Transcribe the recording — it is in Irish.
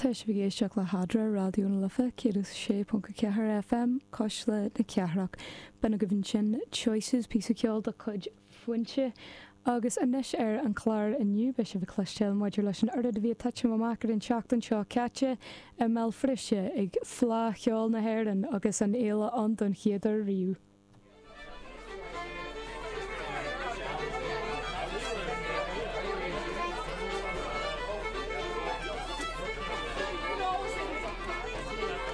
Tá sibh ag éisteacht le hEadra, Raidió na Life 106.4 FM, Cuisle na Cathrach. B'in agaibh ansin Choices, píosa ceoil de chuid Foinse. Agus anois ar an chlár inniu, beidh sibh ag cloisteáil maidir leis an oiread a bhí ag titim amach ar an tseachtain seo caite i mBéal Feirste ag Fleadh Cheoil na hÉireann agus an fhéile ann don chéad uair riamh.